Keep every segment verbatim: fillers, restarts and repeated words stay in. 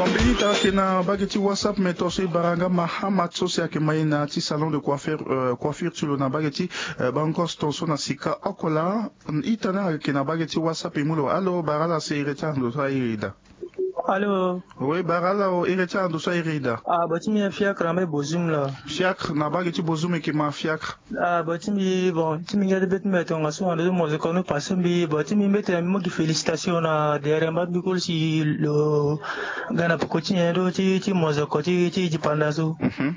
Mbeni ita ayeke na mbage ti WhatsApp, me tongaso e bara nga Mahamat so si ayeke ma e na ya ti salon de coiffure, euh, coiffure ti lo na mbage ti, euh, Bangos, tongaso na sika oko laa. Ita ni ayeke na mbage ti WhatsApp, e mu lo. Alo, bara ala si e reti ando so airi e daa. Alo. Oui, bara ala o, e reti ando so airi e daa. Ah, bati mbi Fiacre na mbage Bozoum laa. Fiacre na mbage ti Bozoum, e yeke ma Fiacre. Ah, bon, ti mbi, bon, ti mbi nga ti be ti mbi tongaso ando ti mozoko ni passé mbi, bon, ti mbi mbeti na mbi mo gi félicitation na derrière mba mbi koli si lo ga na poko ti nyen do ti, ti mozoko ti, ti dipanda so. Mhm.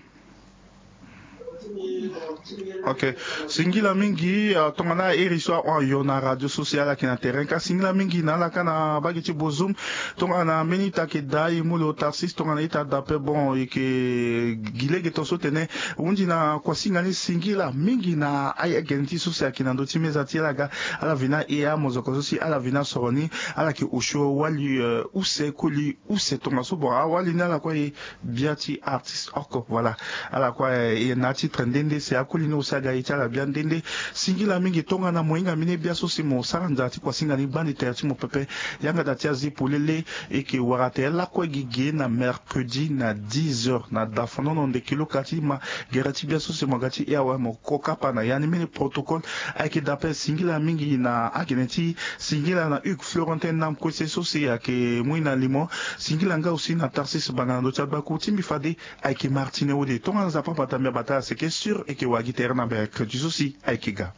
Ok. Singila mingi, ah, tongana iri so ahon ayo na radio so si ala yeke na terrain ka. Singila mingi na ala ka na mbage ti Bozoum. Tongana mbeni ita ayeke daa, e mu lo Tarsis, tongana ita daa ape, bon, e yeke gi lege tongaso tene. Hundi na kuasinga ni singila mingi na aye gene ti so si ayeke na ndö ti meza ti ala ga, ala vena e amozoko so si ala vena soro ni, ala yeke osio wali, euh, use koli use tongaso. Bon, awali ni ala kue e bia ti artiste oko, voilà. Ala kue, eh, e na atitre nde nde si akoli ni aussi aga e ti ala bia nde nde. Singila mingi tongana mo hinga mbeni bia so si mo sara nzara ti kuasinga ni gbani tere ti mo pepe. Yanga da ti azi polele, e yeke wara tere lakue gigi na mercredi na dix heures na dafanono ndeke lo ka ti ma gere ti bia so si mo ga ti e awe mo ko kapa na ya ni. Mbeni protocole ayeke daa ape. Singila mingi na agene ti singila na Hugues Florentin Nam Kwese so si ayeke mu e na limo. Singila nga aussi na Tarsis Banga na ndö ti agbaku ti mbi fade. Ayeke Martine Wode. Tongana Nzapa abata mbi abata ala seke sur, e yeke wara gi tere na mercredi so si ayeke ga.